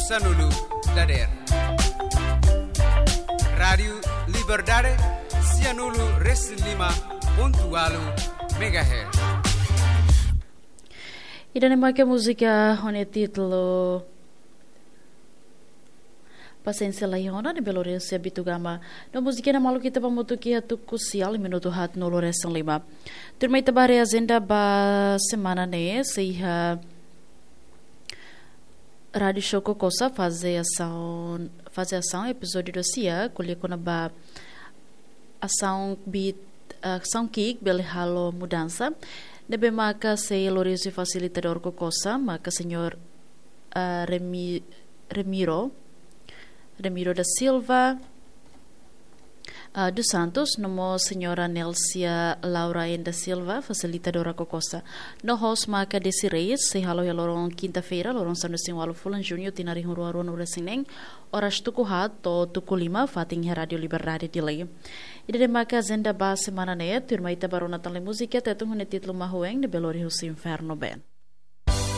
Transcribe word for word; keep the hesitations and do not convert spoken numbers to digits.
Sanulu dader. Rádiu Liberdade, sianulu resin lima pontu walu megahertz. Ida-ne'e maka múzika ho nia títulu Pasiénsia Laiha Ona, ne'ebé lori husi Bitu Gama. No múzika ne'e malu ita ba hamutuk iha tuku sia, minutu haat nulu resin lima. Tuirmai ita ba haree ajenda ba semana ne'e, sei iha Rádiu Show Kokosa, faze asaun, faze asaun, epizódiu dua sia, ko'alia kona-ba asaun ki'ik, asaun ki'ik bele halo mudansa. Ne'ebé maka sei lori husi fasilitadór Kokosa, maka señór, ah, Remi-, Remiro, Remiro da Silva, ah, dos Santos, no mós señora Nelsia Laura N da Silva, fasilitadora Kokosa. No host maka Desi Reis, sei halo iha loron kinta-feira, loron sanulu-resin-ualu fulan Juñu, tinan rihun rua ruanulu-resin-neen, oras tuku haat to'o tuku lima, fatin iha Rádiu Liberdade Dili. Ida-ne'e maka ajenda ba semana ne'e, tuirmai ita ba rona tan lai múzika Tetun ho nia títulu Mahuen, ne'ebé lori husi Inferno Band.